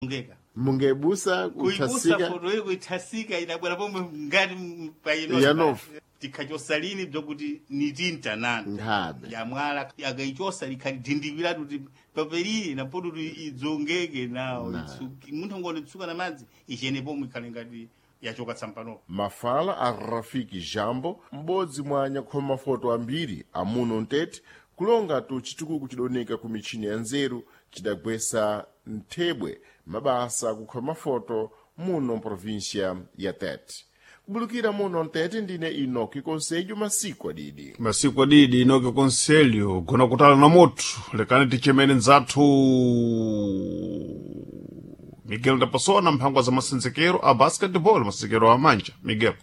Ngeka. Mungebusa Kuibusa kuthasika foto iyo kuithasika idabwera pomwe ngati paino Yanofu. tikhachosalini bzokuti nitinta nanu nkhabe yamwala akaichosa likhadindikiratu kuti papelili napoto kuti idzongeke nawo itsuke munthu ngonitsuka na madzi ichene pomwe ikhale ngati yachoka tsampanopo. Mafala a Rafiki Jambo, m'bodzi mwa anyakhoma-mafoto ambiri amuno mtete, kulonga tu chitukuko chidoneka ku michini ya nzeru chidagwesa nthebwe mabasa akukhoma mafoto muno mprovinsia ya Tete. Kubulukira muno mtete ndine Inoki Conselho masiku adidi. Masiku adidi Inoki Conselho gona kutala na moto lekani tichemene nzathu Miguel da Passoa mphangwa za masenzekero a basketball masenzekero a manja. Miguel.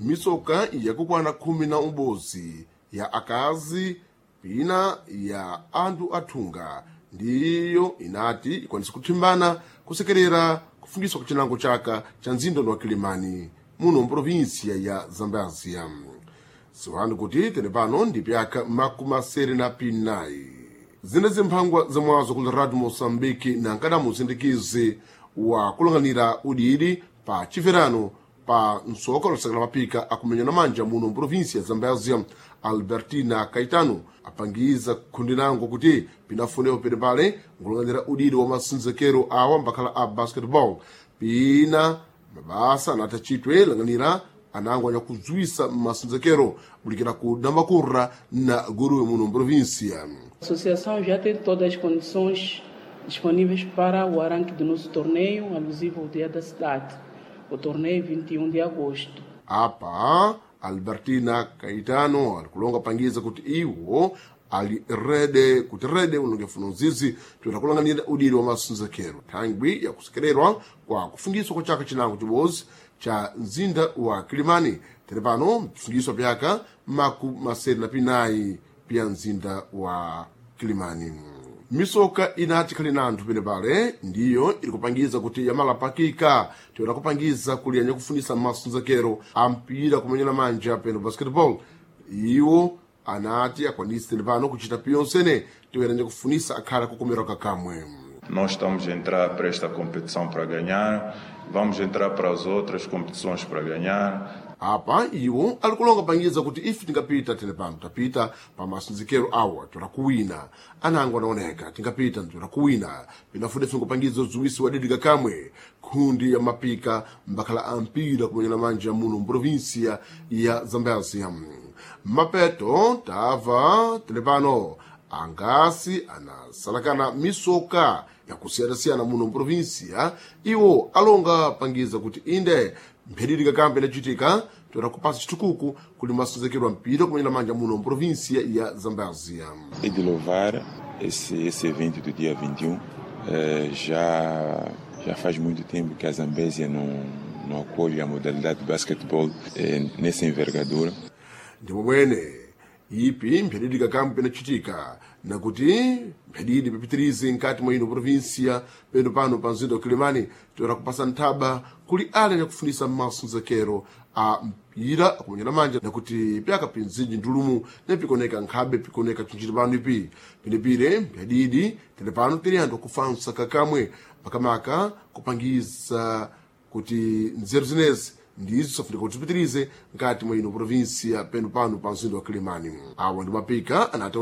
Misoka yakukwana 11 ya akazi pina ya anthu athunga ndiyo inati ikwanise kuthimbana kusekerera kufungiswa kwa cinango chaka cha mzinda wa Kilimani muno mprovinsia ya Zambezia. Siwani kuti tene pano ndi pyaka 74 zina zimphangwa zamwazo ku Radio Moçambique na nkadamu usindikizi wa kulang'anira udidi pa chiverano pa msoka losakala mapika akumenyana manja muno mprovinsia ya Zambezia. Albertina Caetano apangiza khundi nango kuti pinafunepo pene pale nkulang'anira udidi wa masinzekero awa mbakhala a basketball pina mabasa anati achitwe lang'anira anango anyakudzwisa masinzekero bulikira ku Nambakurra na Guruwe muno mprovinsia. A associação já tem todas as condições disponíveis para o arranque do nosso torneio, alusivo ao Dia da Cidade. O torneio é 21 de agosto. Apa Albertina Caetano alikulonga pangiza kuti iwo ali rede kuti rede unongefuna uzizi toera kulang'anira udiri wa masinzekero thangwi yakusekererwa kwa kufungiswa kwa chaka chinango chibodzi cha mzinda wa Kilimani tere pano mfungiswa pyaka 74 pya mzinda wa Kilimani. Misoka inati khali na anthu pene pale ndiyo ili kupangiza kuti yamalapakika toera kupangiza kuli anyakufunisa masunzekero a mpira kumenyana manja peno basketball iwo anati akwanise tene pano kuchita piyonsene toera nyakufunisa akhala kukomerwa kakamwe. Nós estamos a entrar para esta competição para ganhar, vamos entrar para as outras competições para ganhar. Apa iwo alikulonga pangiza kuti ife tingapita tene pano tapita pa masinzikero awa toera kuwina anango anaoneka tingapita toera kuwina pinafuna ife nkupangiza udziwisi wadidika kamwe khundi ya mapika mbakhala ampira kumenyana manja muno mprovinsia ya Zambezia. Mapeto tava tene pano angasi anasalakana misoka yakusiyanasiyana muno mprovinsia iwo alonga pangiza kuti inde mphedidi kakambe inachitika toera kupasa chitukuku kuli masonzekerwa mpira kumenyana manja muno mprovinsia ya Zambezia. É de louvar esse evento do dia 21. Já faz muito tempo que a Zambésia não acolhe a modalidade de basquetebol nessa envergadura. Ndipo mwene ipi mphedidi kakambe pinachitika nakuti mphedidi pipitirize nkati mwa ino provinsia peno pano pa mzinda wa Kilimani toera kupasa nthaba kuli ale anyakufunisa masunzekero a mpira akumenyana manja nakuti pyaka pinzinji ndulumu nepikoneka nkhabe pikoneka chinchiti pano ipi pinepire mphedidi tene pano tili anthu akufansa kakamwe makamaka kupangiza kuti nzeru zinezi ndizo safunika kuti zipitirize nkati mwa ino provinsia peno pano pa mzinda wa Kilimani. Awa ndi mapika anati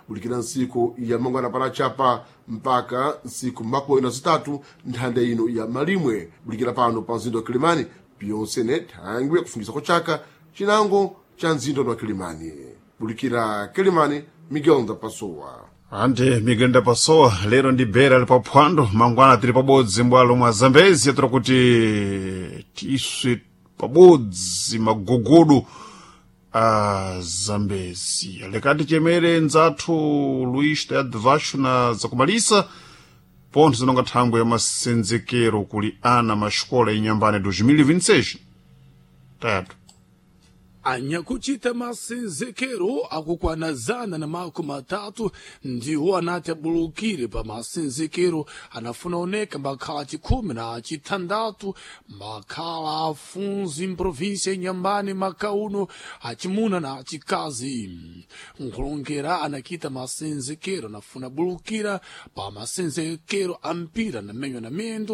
bulikira ntsiku ya mangwana palachapa mpaka ntsiku 43 nthanda ino ya malimwe bulikira pano pa mzinda wa Kilimani piyonsene thangwi yakufungisa kwa chaka chinango cha mzinda wa Kilimani. Bulikira Kilimani, Miguel Ndapasowa. Ante Miguel da Passoa lero ndi bera ali paphwando mangwana tili pabodzi mbwalo mwa Zambezia toera kuti tiswe pabodzi magugudu a Zambezia. Lekati chemere nzathu Luís Tayad Vasco na zakumalisa pontho zinonga thangwe ya masenzekero kuli ana maxikola inyambane 2026. Tayadu. Anyakuchita masenzekero akukwana 130 ndiwo anati abulukire pa masenzekero anafuna oneka mbakhala 16 mbakhala afunzi mprovinsia inyambani makauno achimuna na achikazi. Nkulongera anakita masenzekero anafuna bulukira pa masenzekero ampira na menyo na mendo.